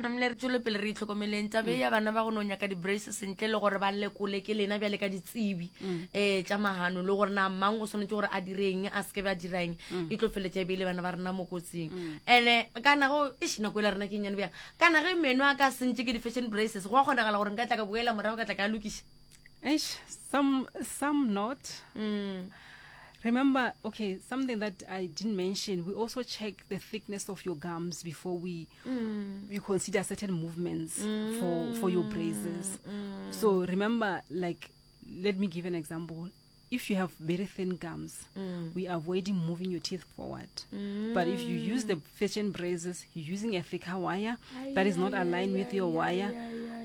Namile re tšwele pele re itlhokomeleng tabe ya bana ba go no nyaka di-braces ntle le gore ba lekole ke lena bjale ka ditsebi um tša magano le gore na mang o swanetše gore a direng a seke ba dirang e tlo feletša e beile bana ba rena mo kotsing ene kana go eš nako e la rena ke nnyane bjang kana ge meno a ka sentše ke di-fashion braces go a kgonagala gore nka tla ka boela morago ka tla ka lokiša Eish, some some not. Mm. Remember, okay, something that I didn't mention, we also check the thickness of your gums before we mm. we consider certain movements mm. for for your braces. Mm. So remember, like let me give an example. If you have very thin gums, mm. we are avoiding moving your teeth forward. Mm. But if you use the fashion braces, you're using a thicker wire that is not aligned with your wire,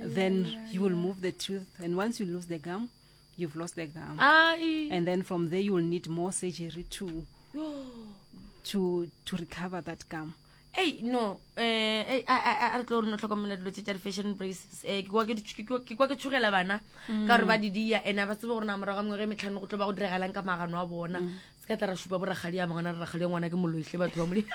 then you will move the tooth. And once you lose the gum, you've lost the gum. Ai. And then from there, you will need more surgery to to to recover that gum. Ei, no, eh, ei, a, a, a, a re tlo re no hlokomela dilo tše tša di-fashion braces. Eh, ke kwa ke di- ke kwa- ke kwa ke tshogela bana ka gore ba di dia ene a ba tsebe gore na morago ga mengwaga e metlhano go tlo ba go diragalang ka magano a bona. Se ka tla ra šupa borakgadi a mangwana re rakgadi ya ngwana ke moloihle batho ba modimo.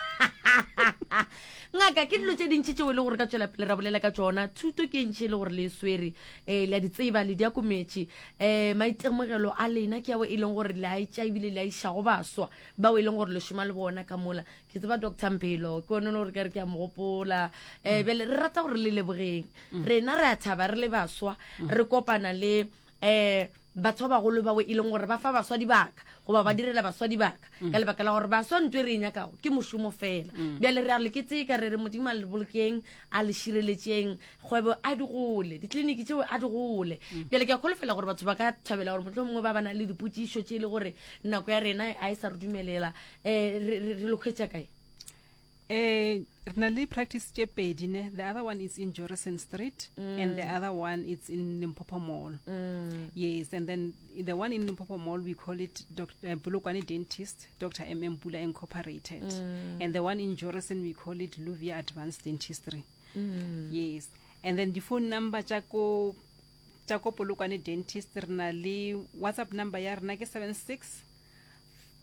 Ngaka, ke dilo tše dintši tšeo e le gore ka tšwela pele ra bolela ka tšona. Thuto ke e ntši e le gore le e swere, eh, le a di tseba, le di akometše. Eh, maitemogelo a lena ke ao e leng gore le a etša ebile le a iša go baswa bao e leng gore le šoma le bona ka mola. Ke tseba Doctor Mphelo, ke one o le gore ka re ke a mo gopola. Um bjale re rata gore le lebogeng. Rena re a thaba re le baswa, re kopana le um batho ba bagolo bao e leng gore ba fa baswa dibaka goba ba direla baswa dibaka ka lebaka la gore baswa ntho e re e nyakago ke mošomo fela. Bjale re a le keteka, re re Modimo a le bolokeng, a le šireletšeng, kgwebo a di gole, ditleliniki tšeo a di gole. Bjale ke a kholofela gore batho ba ka thabela gore mohlomongwe ba ba na le dipotšišo tše e le gore nako ya rena a e sa re dumelela. Eh, re, re, re lo hwetša kae? Eh, re na le practice tše pedi ne. The other one is in Jorissen Street mm. and the other one it's in Limpopo Mall. Mm. Yes, and then the one in Limpopo Mall we call it Dr. Uh, Polokwane Dentist, Dr. M M Pula Incorporated. Mm. And the one in Jorissen we call it Luvia Advanced Dentistry. Mm. Yes. And then the phone number tša ko tša ko Polokwane Dentist re na le WhatsApp number ya rena ke 76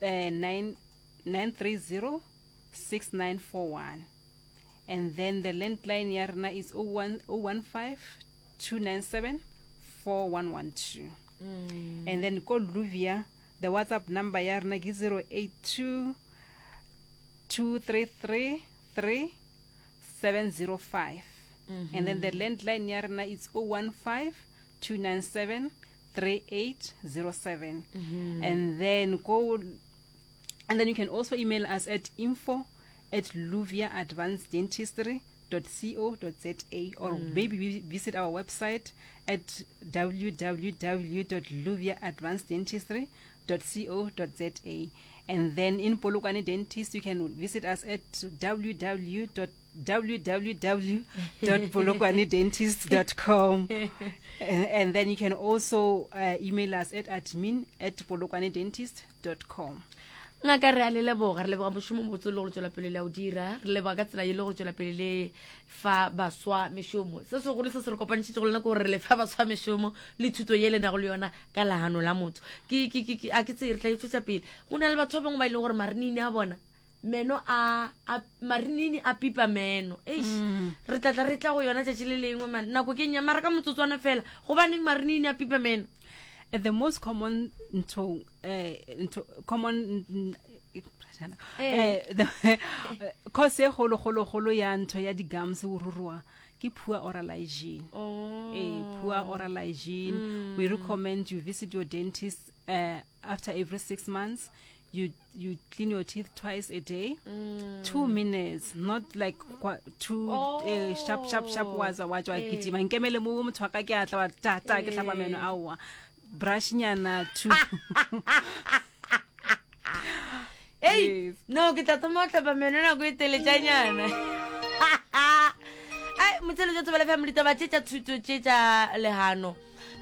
eh, 9 930 6941 and then the landline ya rena is 01 015 297 4112 mm. and then ko Luvia the WhatsApp number ya rena ke 082 233 3 705 mm -hmm. and then the landline ya rena is 015 297 3807 mm -hmm. and then go and then you can also email us at info at luviaadvanced.dentistry.co.za or mm. maybe visit our website at www.luviaadvanced.dentistry.co.za and then in Polokwane Dentist you can visit us at www www.polokwanedentist.com and, and then you can also uh, email us at admin at polokwanedentist.com ngaka re a le leboga re leboga mošomo mobotse le go tswela pele le a o dira re leboga ka tsela ye le go tswela pele le fa baswa mešomo se segolo se se re kopantšhitse go lena ke gore re le fa baswa mešomo le thuto ye le nago le yona ka legano la motho ke ke ke a ke tse re tla e tswetsa pele go na le batho ba bangwe ba e leng gore marinini a bona meno a a marinini a pipa meno eish Mm. re tla tla re tla go yona tšatši le lengwe man nako ke nya mara ka motsotswana fela gobaneng marinini a pipa meno The most common ntho eh ntho common mm, Eh. eh the cause e golo golo golo ya ntho ya di gums go ruruwa ke poor oral hygiene oh. eh poor oral hygiene we recommend you visit your dentist uh, after every 6 months you you clean your teeth twice a day mm. 2 minutes not like two oh. eh, sharp sharp sharp wa tswa wa tswa Eh. kitima nkemele mo motho wa ka ke a tla wa ta ta ke hlapa meno aowa brush nyana two Ei, Yes. no ke tla thoma go hlapa meno nako e teletšanyana ai motšheletša thobela fm ditaba tše tša thuto tše tša lehano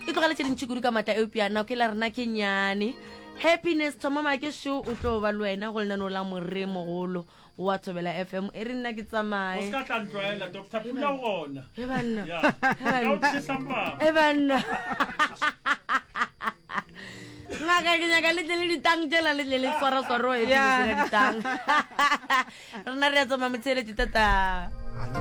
e tlogele tše dintši kudu ka maatla eupša nako e la rena ke nyane happiness thoma make šo o tlo ba le wena go lenaneo la more mogolo wa thobela fm e re nna ke O tsamaye se ka tla ntlwaela, Doctor Pula o gona. e banna Ya. Ka o tšhesa mpama. e banna ngaka ke nyaka le tle le ditang tšela le tle le swaraswaroe Yeah. ditang rena re ya tsamaya motsheletše tata.